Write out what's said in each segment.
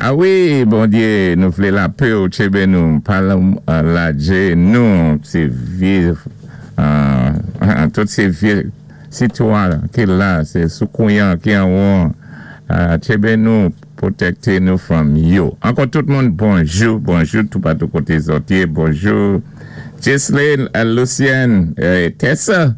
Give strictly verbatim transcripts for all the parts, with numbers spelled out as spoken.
A wi, Bondyé, nou vlé lapè ou tjébé nou, pa lajé nou, sé vyé, tout sé vyé sitwa ki la, sé soukounyan ki anwon, tjébé nou, pwotèkté nou from yo. Ankò tout moun, bonjou, bonjou, tout patou koté zòt yé, bonjou. Jesline, Lucien, Tessa,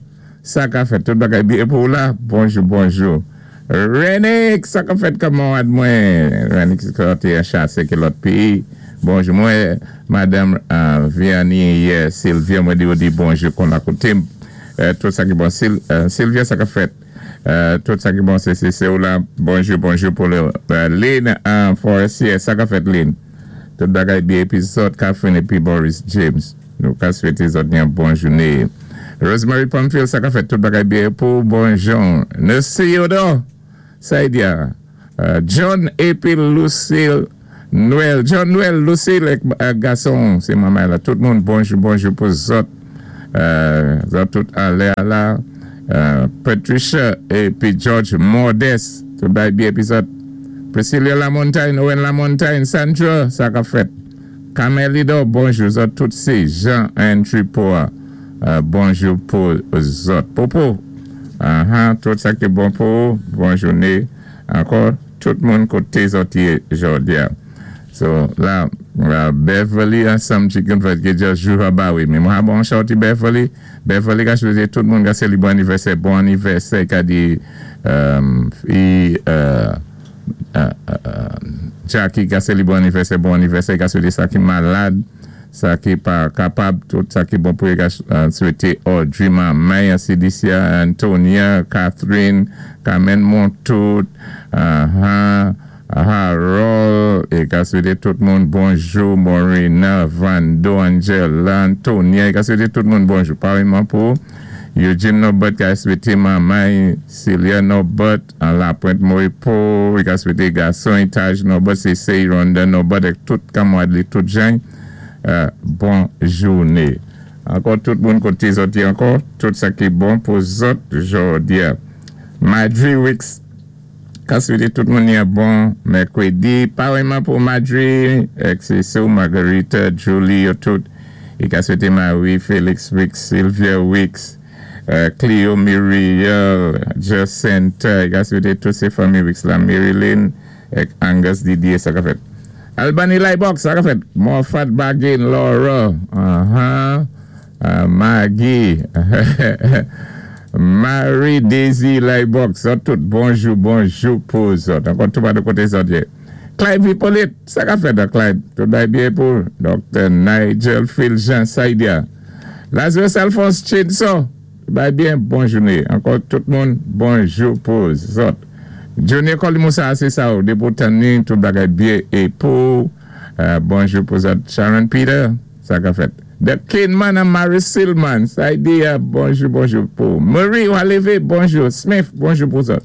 sa ka fèt, tout bagay byen pou la, bonjou, bonjou. Renik, sa ka fèt kanmarad mwen, Renik ki te chasé ki lòt péyi, bonjou mwen, Madame Vianney, Sylvia, mwen di ou di bonjou kon la koté, tout sa ki bon, Sylvia, sa ka fèt, tout sa ki bon, sé sé ou la, bonjou, bonjou pou le, Lynn Forestier, sa ka fèt Lynn, tout bagay byen, épi zòt Catherine, épi Boris James, nou ka swété zòt yon bon jouné. Rosemary Pamphile, sa ka fèt, tout bagay byen pou bonjou. Nesi Yodo, Saidia, John épi Lucille Noël, John Noël, Lucille gason, sé manman la, tout moun bonjou, bonjou pou zòt, zòt tout alè la, Patricia épi George Modeste, tout bagay byen épi zòt, Priscilla Lamontagne, Owen Lamontagne, Sandra, sa ka fèt, Camelido, bonjou, zòt tout sé Jean Andrew Poa, bonjou pou zòt, Popo, tout sa ki bon pou, bon jouné, ankò, tout moun koté zòt yé jòdi a. So, la, Beverly ansanm chicken fèt ki just jou abawi. Mi mwen ha bon shouty Beverly. Beverly ka swété tout moun ka séli bon anivèsè, bon anivèsè ka di i Jackie ka séli bon anivèsè, bon anivèsè ka swété sa ki malad, sa ki pa kapab, tout sa ki bon pou ka swété Audrey, Maya, Cedicia, Antonia, Catherine, Carmen Montout, Harold, é ka swété tout moun bonjou, Morena, Vando, Angela, Antonia, é ka swété tout moun bonjou. Paréyman pou Eugene Norbert ka swété manman, Celia Norbert, an la Pointe Moripo, é ka swété gason, Taj Norbert, Cece, Ronda Norbert, ek tout kanmwad li, tout jan, bon jouné. Ankò tout moun koté zòt yé ankò, tout sa ki bon pou zòt jòdi a. Madri Wicks, ka swété tout moun yon bon mèkwédi. Paréyman pou Madri, ek sé sou Margarita, Julie, yo tout. É ka swété Marie, Felix Wicks, Sylvia Wicks, Cleo Muriel, Jacinta, é ka swété tout sé fanmi Wicks la, Marilyn, ek Angus Didier, sa ka fèt. Albany Lightbox, sa ka fèt. Morfat Bagin, Laura, uh-huh, Maggie, Marie Daisy Lightbox, zòt tout, bonjou, bonjou pou zòt. Ankò tout pa de koté zòt yé. Clyde Hippolyte, sa ka fèt da Clyde. Tout bay byen pou Docteur Nigel Phil Jean Saidia. Lazarus Alphonse Chinso, bay byen, bon jouné. Ankò tout moun, bonjou pou zòt. Johnny Kolimoussa, sé sa ou, depo tani, tout bagay byen é pou, bonjou pou zòt. Sharon Peter, sa ka fèt. The Kinman and Mary Silman, Saidia, bonjou, bonjou pou. Marie Waleve, bonjou. Smith, bonjou pou zòt.